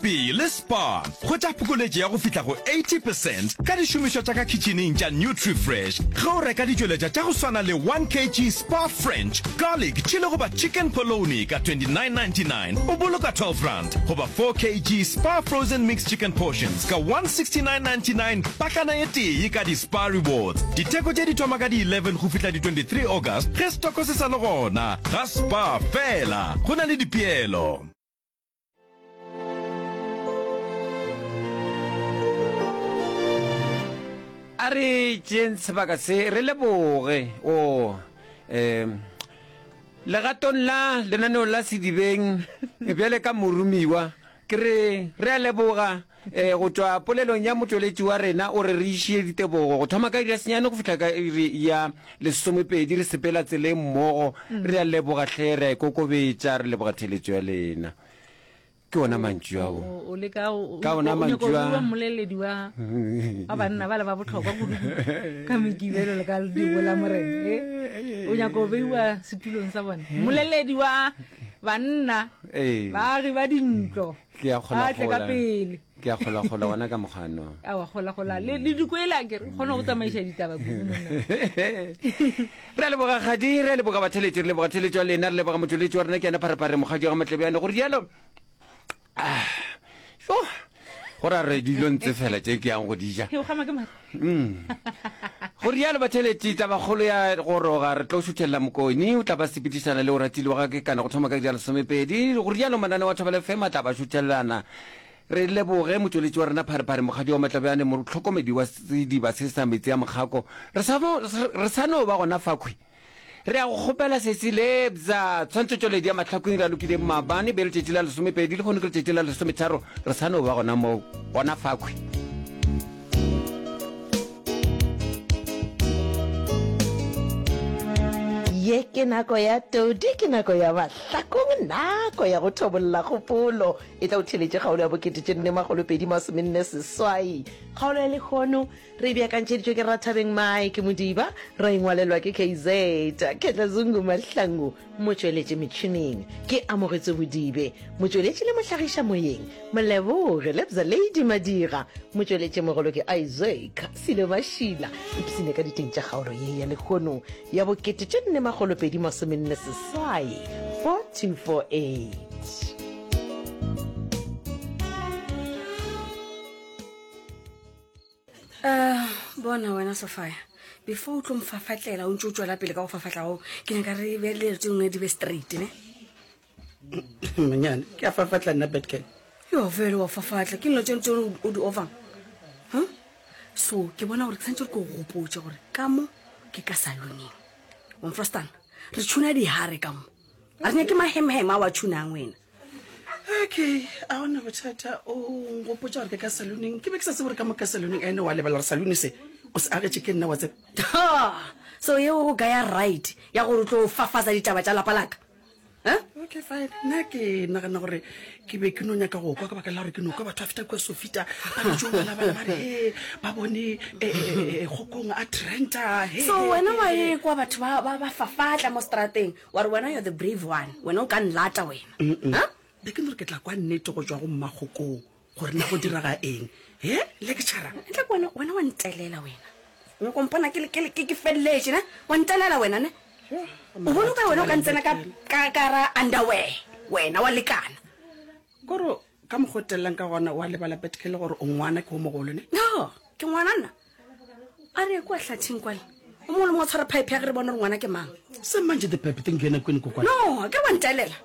Pele le Spar, hwetša phokoletšo ya go fihla go 80 percent ka dišomišwa tša ka khitšhining tša Nutrifresh ge o reka ditšweletšwa tša go swana le 1 kg Spar French Garlic Chili goba Chicken Polony ka 29.99 o boloka R12 goba 4 kg Spar Frozen Mixed Chicken Portions ka 169.99 pakana e tee ka di-Spar Rewards. Ditheko tše di thoma ka di 11 go fihla di 23 August ge stoko se sa le gona. Ga Spar fela go na le dipeelo. A re tšeeng sebaka se re leboge o um legatong la lenaneo la Sedibeng bjale ka moromiwa ke re re a leboga um go tšwa polelong ya motšweletši wa rena o re re išie ditebogo go thoma ka iri ya senyane go fihla ka iri ya lesomepedi re sepela tseleng mmogo re a leboga hle re a ikokobetša re leboga theletšo ya lena Ke ona mantšu ao. O leka o Ka ona mantšu a. mmoleledi wa wa banna ba le ba botlhokwa kudu ka mekibelo le ka dibo la morena. Eh? O nyaka o beiwa setulong sa bone. Mmoleledi wa banna Ee. baagi ba dintlo. Ke a Ba tle ka kgolagola. pele. Ke a kgolagola gona ka mokgano. A wa kgolagola le le dikwela ke re kgona go tsamaiša ditaba kudu monna. Re a leboga Kgadi, re a leboga batheletši, re leboga theletšo ya lena, re leboga motšweletši wa rena ke yena Pharephare Mokgadi wa ga Matlebjane. Go rialo, ah, jo, go ra re dilo ntse fela tše ke yang go di ja. He o gama ke mare. Mm. Go rialo batheletši, tabakgolo ya goroga, re tlo šuthelela Mokoni, o tla ba sepedišana le Oratile wa ga Kekana go thoma ka iri ya lesomepedi. Go rialo mananeo a Thobela FM a tla ba šuthelelana. Re leboge motšweletši wa rena Pharephare Mokgadi wa Matlabjane, mohlokomedi wa sediba se sa metsi a mokgako. Re sa no, re sa no ba gona fakhwi. Re a go kgopela sesi Lebza, tshwantšhotšweledi ya Mahlakoing re a lokile maabane be letšatši la lesomepedi, lehono ke letšatši la lesometharo, re sa no ba gona moo, gona fakhwi. Ye ke nako ya todi, ke nako ya mahlakong, nako ya go thobolla kgopolo. E tla o theletše kgaolo ya bokete tše nne makgolo pedi masomenne seswai. Kgaolo ya lehono re e beakantšheditšwe ke Rathabeng Mike Modiba, ra e ngwalelwa ke KZ Ketla Zungu Mahlangu, motšweletši metšhineng ke Amogetswe Bodibe, motšweletši le mohlagiša moyeng Moleboge Lebza Lady Madira, motšweletši mogolo ke Isaac Silo Mašila. Ipsine ka diteng tša kgaolo ye ya lehono ya bokete tše nne makgolo pedi masomenne seswai 4248. Uh, bona wena sofia before o tlo mfafatlela o ntse o tswela pele ka go fafatla go ke nyaka re be le tse nngwe di be straight ne monyane ke a fafatla nna betken yo fele wa fafatla ke nno tse ntse o di ovang huh? so ke bona gore ke santse re ko go gopotse gore ka mo ke ka saloneng omfrostan re tšhuna dihare ka mo a re nyake mahemheme a wa tšhunang wena okay a gona bothata o ngopotsa gore ke ka saloneng ke be ke sa tsebe gore ka mo ka saloneng ene wa lebala gore salone se o se agetše ke nna wa tseba so yeo go kaya right ya gore o tlo fafatsa ditaba tša lapa laka Eh? okay fine nna ke nagana gore ke be ke no nyaka go kwa ka baka la gore ke no kwa batho ba feta kua sofita ba re jo bana bana ba re he ba bone eh, eh, eh, kgokong a trenta he, so he, wena he, wa he. e kwa batho ba ba- ba fafatla mo strateng wa re wena you're the brave one wena o ka nlata wena Huh? Be ke no re ke tla kwa nnete go tšwa go mmakgokong gore na go diraga eng he lecturer ntle ke wena wena wa ntelela wena o nyako mpona ke le- ke le- ke ke feleletše ne wa ntelela wena ne O bone ka wena o ka ntsena ka ka ka ra underwear wena wa lekana. Kore ka mokgwa o tellang ka gona wa lebala Petkel gore o ngwana ke o mogolo ne? No, ke ngwana nna. A re ye kua hlathing kwale. O mongwe le mongwe a tshwara pipe ya ge re bone gore ngwana ke mang. Se manje the pipe thing yena kwene kokwana. No, ke wa ntelela.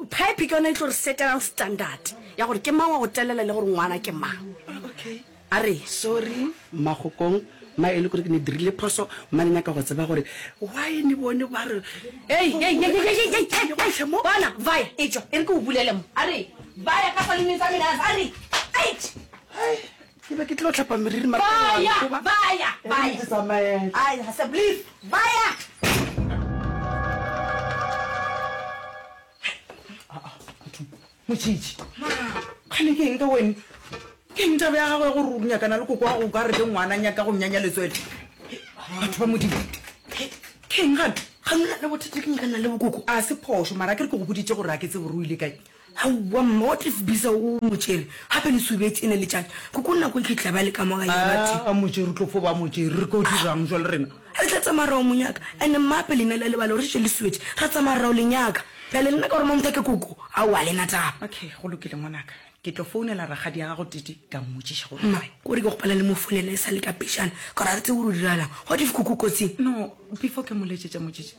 Pipe ke yona e tlo re setelang standard ya gore ke mang wa go telela le gore ngwana ke mang. Okay. A re. Sorry Mmakgokong, ma e le gore ke ne dirile phoso, mma ne nyaka go tseba gore why ne bone ba re Hei, hei, hei, hei, hei, hei, hei, hei, bona, vaya, etšwa, e re ke o bulele mo. A re, vaya ka saloneng sa mina, a re, ait. Hai, ke be ke tlo hlapa meriri mara Vaya, wa nkoba. vaya, E re vaya. ke tsamaye. Ai, ga se, please, vaya. Motšhitšhi, kgane ke eng ka wene? Ke eng taba ya gago ya gore o nyakana le koko wa go ka re ke ngwana nyaka go mnyanya letswele? Batho ba Modimo, ke eng gane? Ga nna le bothata ke nyakana le bokoko. A se phošo, mara ke re ke go boditše gore a ke tsebe gore o ile kae. Aowa mma, what if Bisa o mo tšere? Gape le subetše ene letšatši. Koko nako e ke tla ba le ka mo gae batho. A mo tšere, o tlo fo ba mo tšere. Re tlo dirang jwale rena? Re tla tsamaya ra o mo nyaka. Ene mma gape lena le a lebala gore šetše le suetše. Ra tsamaya ra o le nyaka. Bjale lena ka gore Mamtha ke koko, aowa ga le na taba. Okay, go lokile ngwanaka. Ke tlo founela rakgadi ya gago Titi ka mmotšiša gore Mma, kore ke kgopela le mo founele e sa le ka pejana ka gore ga re tsebe gore o diragalang. What if koko o kotsing? No, before ke mo letšetša motšitši,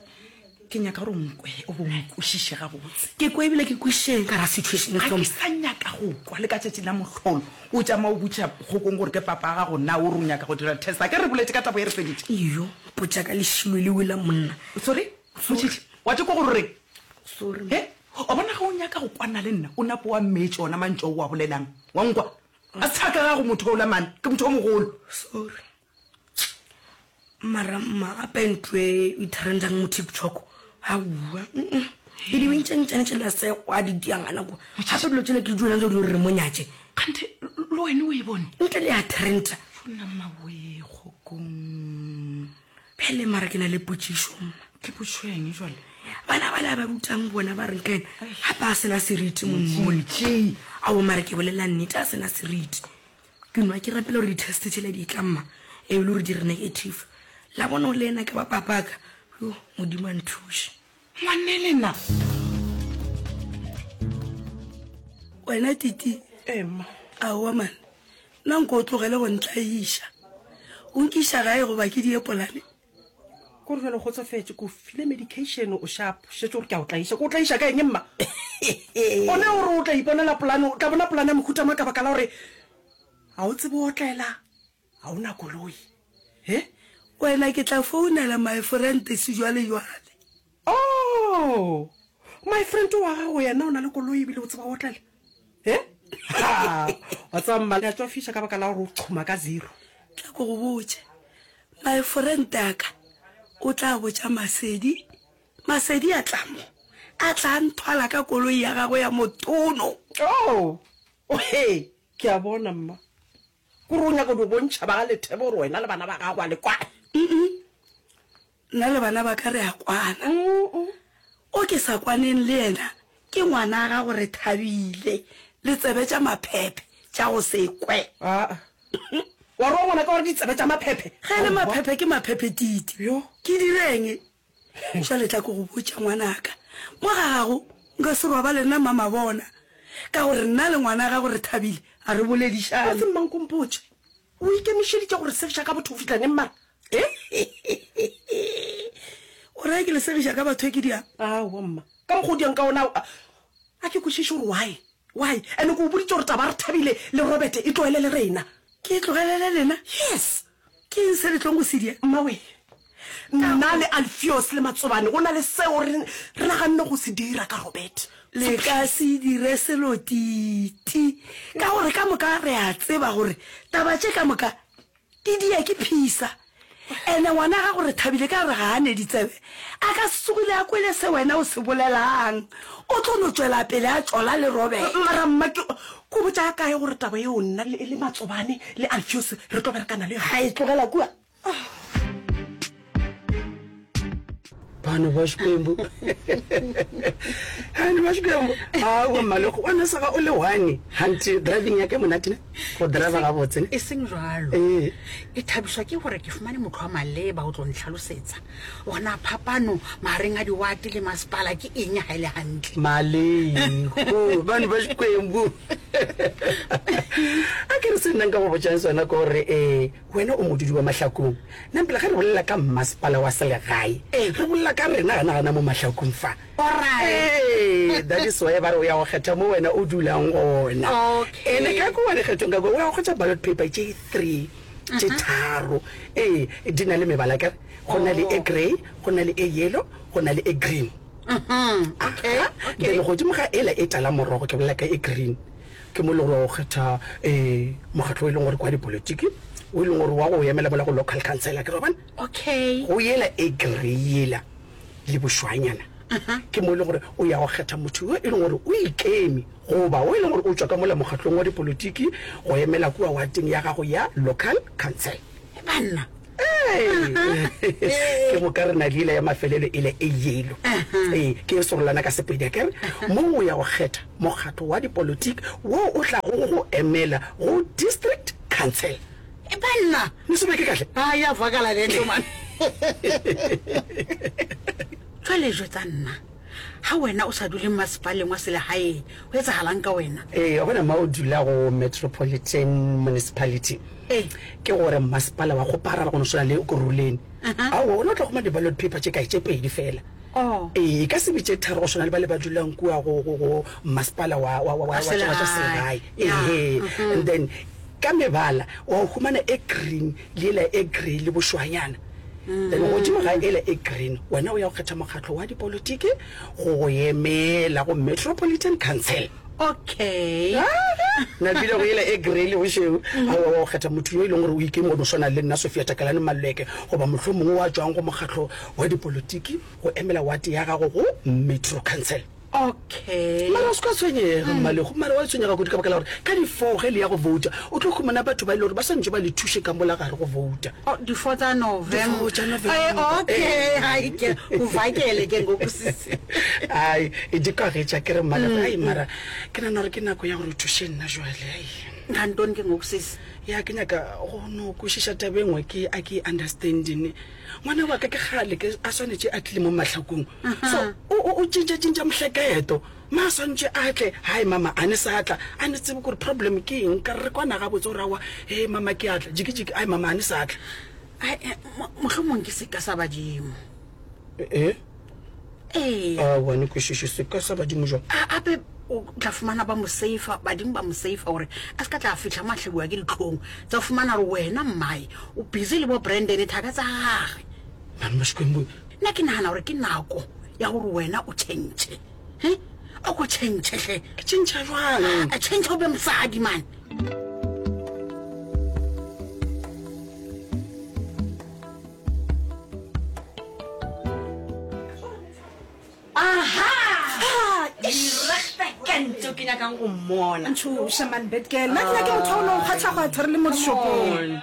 Ke nyaka gore o nkwe o bo nkwešiše gabotse. Ke kwe ebile ke kwešišeng ka ra situation Ga ke sa nyaka go kwa le ka tšatši la mohlolo o tšama o butša kgokong gore ke papa gago na o re o nyaka go dira test. A ke re boletše ka taba ye re feditše. Iyo, mpotša ka lešilo lewe la monna. Sorry, Motšhitšhi, wa tše kwa gore o reng? Sorry. He, o bona ge o nyaka go kwana le nna o nape wa mmetše ona mantšu ao o a bolelang. Wa nkwa? A se a ka gago motho ola man, ke motho o mogolo. Sorry. Mara mma gape ntho e e trendang mo TikTok aowa e di bentšantšane tšela se kwa di diangana kwa gape dilo tšela ke di tse di re mo nyatše kganthe le wene o e bone ntle le ya trenda nna mmawe kgokong bjale mara ke na le potšišo mma ke potšišo eng jale bana ba le ba rutang bona ba reng ka ena gape a sena seriti monnole ao mara ke bolela nnete a sena seriti Ke nwa ke rapela gore di-test tšela di tla mma e le gore di re negative. La bona o le ena ke ba papaka. Yo, Modimo a nthuše. Ngwanelena. Wena Titi. Ee mma. Aowa man, nna nko o tlogele go ntlaiša. O nkiša gae goba ke die polane? Ko re jale o kgotsofetše, ke o file medication o sharp, šetše o re ke a o tlaiša. Ke o tlaiša ka eng mma? One o re o tla iponela polane, o tla bona polane ya mohuta mang ka baka la gore ga o tsebe otlela, ga o na koloi. He? Wena ke tla founela my friend sejwalejwale. Oh! My friend wa gago yena o na le koloi ebile o tseba otlela? He? Ha! Wa tseba mma, le a tšwafiša ka baka la gore o qhoma ka zero. Tla ko go botše. My friend a ka o tla botša Masedi, Masedi a tla mo, a tla nthwala ka koloi ya gagwe ya motono. Oh! Ohe! Ke a bona mma. Kore o nyaka go bontšha ba ga Lethebe gore wena le bana ba gago a le kwane? Mm-mm. Nna le bana ba ka re a kwana. O ke sa kwaneng le yena ke ngwana gago Rethabile, le tsebe tša maphephe tša go se kwe. Aa. Wa re wa ngwana ka gore ditsebe tša maphephe? Ge e le maphephe ke maphephe Titi. Yo. Ke direng? Jwale tla ke go botša ngwanaka, mo ga gago nka se robale nna Mamabona, ka gore nna le ngwana gago Rethabile ga re boledišane. Gabotse mmankompotše, o ikemišeditše go re segiša ka botho go fihla neng mara? He? O raya ke le segiša ka batho e ke diang? Aowa mma, ka mokgwa o diang ka ona a ke kwešiše gore why, why? And-e ke o boditše gore taba ya Rethabile le Robert e tlogelele rena. Ke e tlogelele lena? Yes. Ke eng se le tlong go se dia? Mmawe, nna le Alfios le Matsobane go na le seo re, re naganne go se dira ka Robert. Le ka se dire selo Titi, ka gore ka moka re a tseba gore taba tše ka moka di dia ke Phisa. Ene ngwana gago Rethabile ka gore ga a ne ditsebe, a ka se tsogile a kwele se wena o se bolelang. O tlo no tšwela pele a tšola le Robert. Mara mma, ke, ke o botša kae gore taba yeo nna le, le Matsobane le Alfios re tlo berekana le yona? Ga e tlogela kua. Vanhu va Xikwembu vanhu va Xikwembu awa maloko wa saka o le one hanti driving ya ke monate ne go driver gabotse ne e seng jalo ee ke thabišwa ke gore ke fumane motho wa maleba o tlo ntlhalosetsa gona phapano magareng a diwate le masepala ke eng ga e le gantle malego vanhu va Xikwembu a ke re se nna nka go botšang sona ke gore um Wena o modudi wa Mahlakung. Nampela ge re bolela ka mmasepala wa selegae, re bolela ka rena gana gana mo Mahlakung fa. Ee, that is why ba re o ya go kgetha mo wena o dulang gona. Ene ka kua dikgethong ka kua o ya go kgwetša ballot paper tše three, tše tharo. Ee, di na le mebala akere, go na le e grey, go na le e yellow, go na le e green. Aha, then godimo ga ela e tala morogo, ke bolela ka e green. Ke mo e leng gore wa go kgetha um mokgatlo o e leng gore ke wa dipolotiki, o e leng gore wa go emela mola go local council, akere wa bona? Okay. Go yela e grey yela le bošwanyana, ke mo e leng gore o ya go kgetha motho yo e leng gore o ikeme goba o e leng gore o tšwa ka mola mokgatlong wa dipolotiki go emela kua wateng ya gago ya local council. Banna. Ke moka re na le yela ya mafelelo ele e yellow. Ee, ke e sorolana ka Sepedi akere. Mo o ya go kgetha mokgatlo wa dipolotiki wo o tlago go go emela go district council. E banna! Ne se beke kahle? A ya vakala le nto man. Jwale jwetsa nna, ha wena o sa dule mmasepaleng wa selegaeng, go etsagalang ka wena? Ee, wa bona ma o dula go Metropolitan Municipality. Ee. Ke gore mmasepala wa kgoparara go no swana le Ekurhuleni. Aowa, wena o tla humana di-ballot paper tše kae? Tše pedi fela. Oh. Ee, e ka se be tše tharo go swana le ba le ba dulang kua go, go, go mmasepala wa, wa, wa, wa, wa tša wa tša selegae. Ehe. And then ka mebala wa humana e green le yela e grey le bošwanyana. Then godimo ga ela e green wena o ya go kgetha mokgatlo wa dipolotiki go go emela go Metropolitan Council. Okay. Napile go yela e grey le bošweu, aowa wa go kgetha motho yo e leng gore o ikeme go no swana le nna Sophia Takalane Maluleke goba mohlomongwe wa tšwang go mokgatlo wa dipolotiki go emela wate ya gago go Metro Council. Okay. Mara o se ka tshwenyega, Mmalego. Mara wa tshwenyega kudu ka baka la gore ka di-four ge le ya go vouta, o tlo humana batho ba e le gore ba swanetše ba le thuše ka mola gare go vouta. Oh, di-four tsa November. Di-four tša November. Eh, okay, hai ke uvakele ke ngoku sisi. Ai, e di kwagetša ke re Mmalego, ai mara ke nagana gore ke nako ya gore o thuše nna jwale, ai. Nga ntoni ke ngoku sisi? Ya ke nyaka go no kwešiša taba e nngwe ke a ke e understanding. Ngwana wa ka ke kgale ke a swanetše a tlile mo mahlakong. So o o o tšintša tšintša mohleketo. Ma swantše a tle, hai mama a ne sa tla, a ne tsebe gore problem ke eng, ka re re kwana gabotse gore aowa, hee mama ke a tla, jiki jiki, ai mama a ne sa tla. Ai, eh, mohlomong ke seka sa badimo. Eh? Ee. Aowa ne kwešiše seka sa badimo jwang? A ape o tla fumana ba mo safa, badimo ba mo safa gore a se ka tla fihla mo a hlabiwa ke dihlong tsa go fumana gore wena mmae o busy le bo Brandon thaka tsa gage. Mama Xikwembu. Nna ke nagana gore ke nako ya gore wena o tšhentšhe. He? O ko tšhentšhe hle. Ke tšhentšha jwang? A tšhentšha o be mosadi man. Aha! Direkte ke nyakang go mmona. Ntšhoša man bad girl. Nna ke nyake motho wa o no kgwatha-kgwatha re le mo dishopong.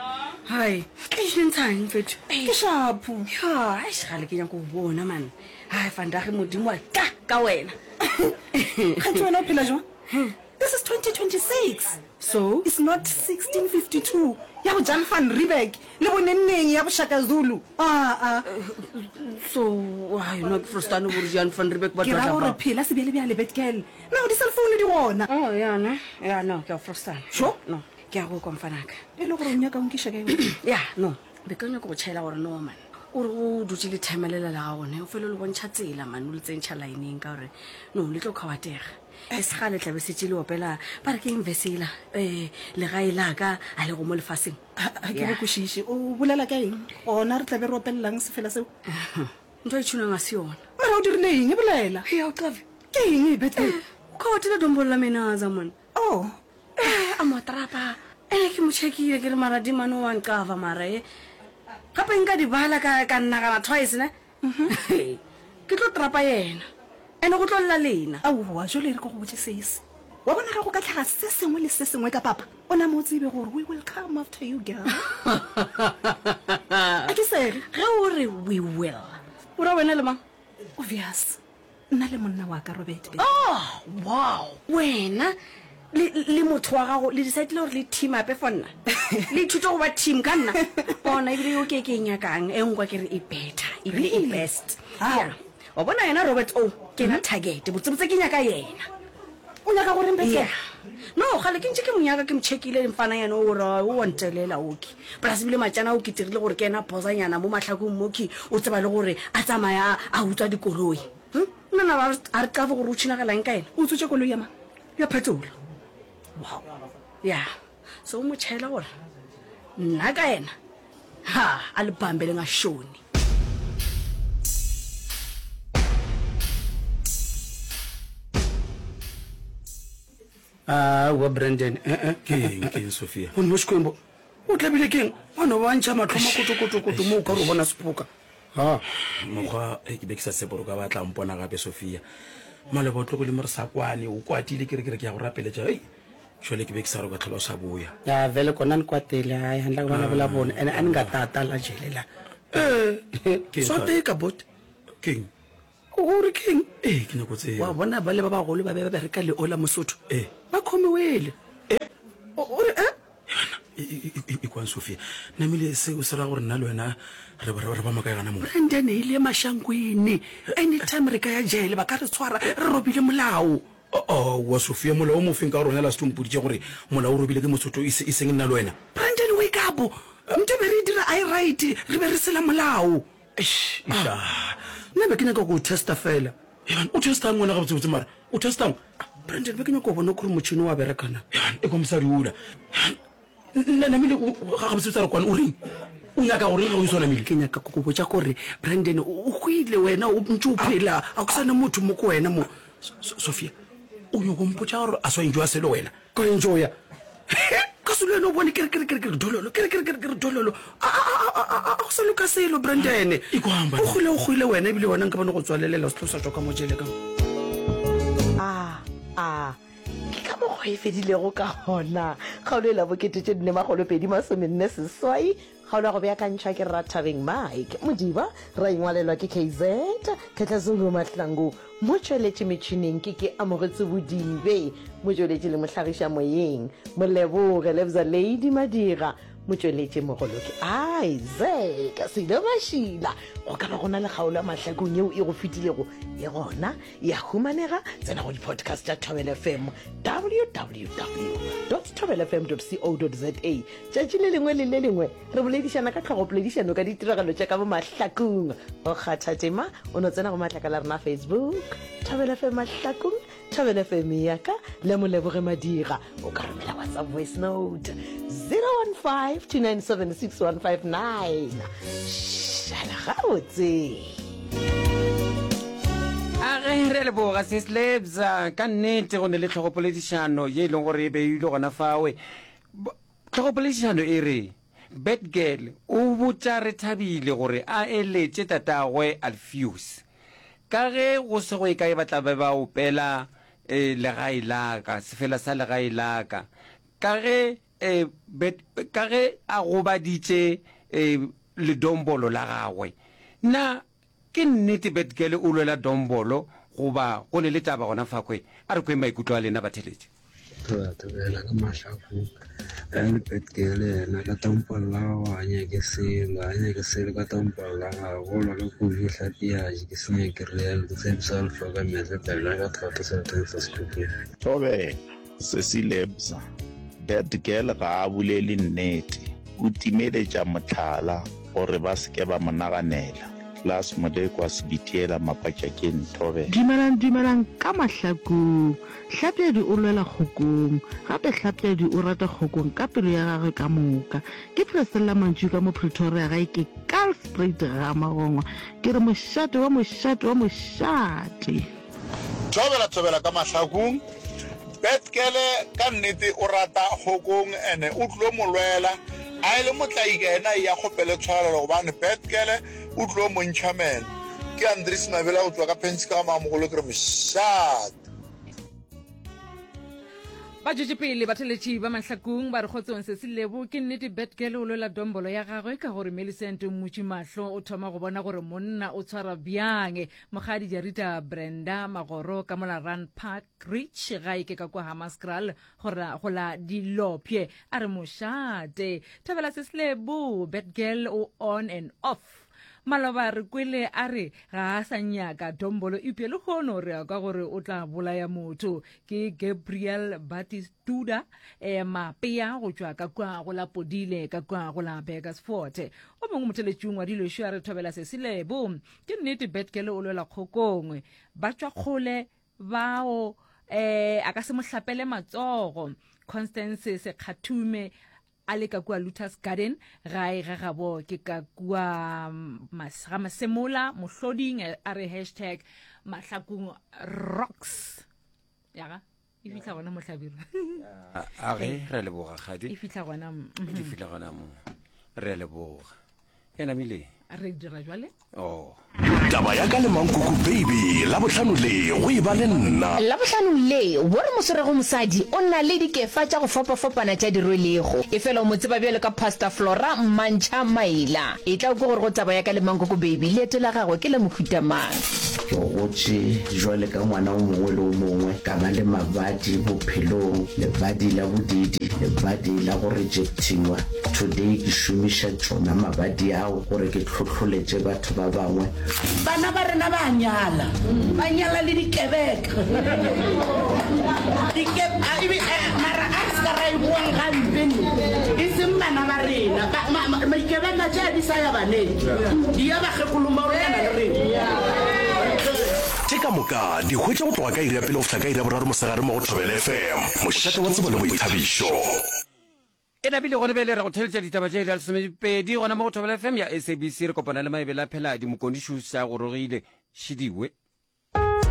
Hai, ke ntshang mfethu. Ke shapo. Ya, eish gale ke nyaka go bona man. Hai, vandag modimo wa tla ka wena. Kganthe wena o phela jwang? This is 2026. So? It's not 1652 ya bo Jan van Riebeeck le bo nenneng ya bo Shaka Zulu. Aa. So, ai no ke frostane gore Jan van Riebeeck ba Ke ra gore phela sebjalebjale bad girl. Now di cell phone di gona. Oh, ya ne. Ya no, ke a frostana. Sure? No, ke a go kwa mfanaka. E le gore o nyaka o nkiša kae wena? Ya, no. Be ke nyaka go tšhaela gore no man. O re o dutše le themelela la gago ne, o fele o le bontšha tsela man, o le tsentšha lineng ka gore no le tlo kgawatega. E se gale tla be setše le opela ba re ke eng verse yela um legae la ka a lego mo lefaseng. Ga ke go kwešiše, o bolela ka eng? Gona re tla be re opelelang sefela seo? Ntho e tšhunang ga se yona. Mara o dirile eng? E bolela. Hei, o qabe. Ke eng e Bethel? O ka otela dombolo la menaza mone. Oh. Eh, a mo trapa. Ene ke mo checkile ke re mara di mane wa nqava mara e. Gape nka di bala ka ka nagana twice ne. Ke tlo trapa yena. Ene go tlo lla lena. Aowa, jwale e re ke go botše sesi. Wa bona ge go ka hlaga se sengwe le se sengwe ka papa, o name o tsebe gore we will come after you girl. A ke sege? Ge o re we will, o ra wena le mang? Obvious. Nna le monna wa ka Robert. Oh, wow. Wena le, le motho wa gago le decidile gore le team ape for nna. Le ithute go ba team ka nna. Bona ebile yo ke ke e nyakang e nkwa ke re e better, ebile e best. How? Yeah. Wa bona yena Robert o ke yena target. Botsebotse ke nyaka yena. O nyaka gore mphe Yeah. No, gale ke ntše ke mo nyaka ke mo checkile mfana yena o ra o wa ntelela oki. Plus ebile matšana o ke tirile gore ke yena bosanyana mo mahlakong moki o tseba le gore a tsamaya a utswa dikoloi. Hm? Nna na a re qave gore o tšhinagalang ka yena. O utswitše koloi ya mang? Ya phetola. Wow. Yeah. So o mo tšhaela gore nna ka yena ha a le bambe le ngashoni. Aowa Brandon, eh eh. Ke eng, ke eng Sophia? Gomme Xikwembu, o tlabile ke eng? Wa no ba ntšha mahlo makotokotokoto mo o ka re o bona sephoka. Ha, mokgwa e ke be ke sa tshepe gore o ka ba tla mpona gape Sophia. Maloba o tlogile mo re sa kwane, o kwatile ke re ke re ke ya go rapeletša. Hei. Jwale ke be ke sa re o ka tlhola o sa boya. Ya vele kona ni kwatile hayi handla ku vulavula vona ene a ni nga tata la jele la. Eh, swa tika bot. Keng? O re keng? Ee, ke nyako tseba. Wa bona bale ba bagolo ba be ba bereka le ola Mosotho. Ee. Ba khomiwele. Eh? O re eh? E kwang Sophia. Namile seo se ra gore nna le wena re re ba makae gana mo? Brandon e ile mashankwini. Anytime re ka ya jele ba ka re tshwara re robile molao. Aowa Sophia, molao o mofeng ka gore wena last o mpoditše gore molao o robile ke Mosotho e seng nna le wena. Brandon wake up. Nto be re e dira I right, re be re sela molao. Eish, iša. Nna be ke nyaka go o testa fela. Eban, o testang wena gabotsebotse mara? O testang? Brandon, be ke nyaka go bona gore motšhini wa bereka na. Eban, e kwa mosadi ola. Eban, namile ga gabotsebotse a re kwane o reng? O nyaka gore ge o iso namile? Ke nyaka go go botša gore Brandon o hwile wena o ntše o phela, a go sa na motho mo ko wena mo. Sophia, o nyoko mpotša gore a swa enjoya selo wena? Ka enjoya? Ka se le wena o bone ke re ke re ke re ke re dololo ke re ke re ke re ke re dololo a a a a a go sa loka selo Brandon. O hwile o hwile wena ebile wena nka bone go tswalelela o se tlo sa tšwa ka mo jele ka mo. A a ke ka mokgwa e fedilego ka gona kgaolo e la bokete tše nne makgolo pedi masomenne seswai Kgaolo ya go beakantšhwa ke Rathabeng Mike Modiba, ra ingwalelwa ke KZ Khetlazulu Mahlangu, motšweletši metšhineng ke ke Amogetse Bodibe, motšweletši le mohlagiša moyeng Moleboge Lebza Lady Madira, motšweletši mogolo ke Isaac Silo Mašila. Go ka ba go na le kgaolo ya mahlakong yeo e go fetilego e gona e a humanega, tsena go di-podcast tša Thobela FM www thobelafm co za. Tšatši le lengwe le le lengwe re boledišana ka tlhogopoledišano ka ditiragalo tša ka mo mahlakong. Go kgatha tema o no tsena go matlakala a rena a Facebook, Thobela FM Mahlakong, Thobela FM ya ka le Moleboge Madira. O ka romela WhatsApp voice note 015 297 6159. Šala gabotse. A ge re a leboga Sis Lebza, ka nnete go ne le tlhogopoledišano ye e leng gore e beilwe gona fawe. Tlhogopoledišano e re, Badgirl o botša Rethabile gore a eletše tatagwe Alfios. Ka ge go se go ye kae ba tla be ba opela Legae la ka, sefela sa Legae la ka. Ka ge ka ge a gobaditše ledombolo la gagwe. Na Ke nnete Betgele o lwela dombolo goba go ne le taba gona fakhwe? A re kweng maikutlo a lena batheletši. Thobela thobela ka mahlakong ge le Betgele yena ka tompolo la gagwe ga nyake selo ga nyake selo ka tompolo la gagwe go lwa ka kudu hlapi ya je ke senya ke realo ke tshepiso alfa ka metle pela ka thata seleteng sa sekhukhung. Thobela, Sesi Lebza, Bad girl ga a bolele nnete, o timeletša mohlala gore ba se ke ba mo naganela. Klaas Molekwa Sebitiela Mapatšakeng Thobela. Dumelang dumelang ka mahlakong. Hlapjadi o lwela kgokong. Gape Hlapjadi o rata kgokong ka pelo ya gagwe ka moka. Ke Priscilla Mantšu ka mo Pretoria gae ke Kaalspruit ga Magongwa. Ke re mošate wa mošate wa mošate. Thobela thobela ka mahlakung. Betkele ka nnete o rata Kgokong ene o tlo mo lwela a e le motlaika yena eya kgopele tshwarelo gobane Betkele o tlo mo ntšha meno. Ke Andries Mabela go tšwa ka Pensi ka ga Mamogolo ke re mošate. Ba tšwetše pele batheletši ba Mahlakung ba re kgotsong Sesi Lebo ke nnete Batgirl o lwela dombolo ya gagwe ka gore Millicent o mmutše mahlo o thoma go bona gore monna o tshwara bjang Mokgadi Jarita Brenda Magoro ka mola Rand Park Ridge gae ke ka kwa Hammanskraal go ra go la Dilopye a re mošate Thabela Sesi Lebo Batgirl o on and off Maloba re kwele a re ga a sa nyaka dombolo eupša lehono re kwa gore o tla bolaya motho. Ke Gabriel Batistuta eh, Mapea go tšwa ka kua go la Podile ka kua go la Burgersfort. O mongwe motheletši o ngwadile šo a re thobela sesi Lebo. Ke nnete Betgele o lwela kgokong. Ba tšwa kgole bao eh, a ka se mo hlapele matsogo. Constance Sekgathume A le ka kua Lotus Garden, gae ga gabo ke ka kua ga Masemola, Mohloding, a re hashtag Mahlakung rocks. Yaga, e fihla gona mo Hlabirwa. A ge, re a leboga, Kgadi. E fihla gona mo. E fihla gona mo. Re a leboga. E namile. Re dira jwale. Oh. Taba ya ka le Mankuku Baby, Labohlano le go e ba le nna. Labohlano le, wo re mo swerego mosadi o na le dikefa tša go fapafapana tša di rwelego. Efela o mo tseba bjalo ka Pastor Flora Mmantšha Maila. Etla o kwe gore go taba ya ka le Mankuku Baby leeto la gagwe ke la mohuta mang. Ke gotše jwale ka ngwana o mongwe le o mongwe, ka ba le mabadi bophelong, lebadi la bodiidi, lebadi la go rejectiwa. Today ke šomiša tšona mabadi ao gore ke hlohloletše batho ba bangwe. Bana ba rena ba a nyala, ba nyala le dikebeka. Dike, a, ebe, a, mara a re se ka ra e boang gampe ne, e seng bana ba rena. Ba, ma, ma, dikebeka tše a di sa ya baneng, di ya bakgekolong ba go lekana le rena. Tše ka moka di hwetša go tloga ka iri ya pele go fihla ka iri ya boraro mosegare mo go Thobela FM, mošate wa tsebo le boithabišo. E napile gona bjale re go theletša ditaba tše iri ya lesomepedi gona mo go Thobela FM ya SABC. Re kopana le Maebele a Pheladi, Mokoni Šuša gorogile. Šidiwe.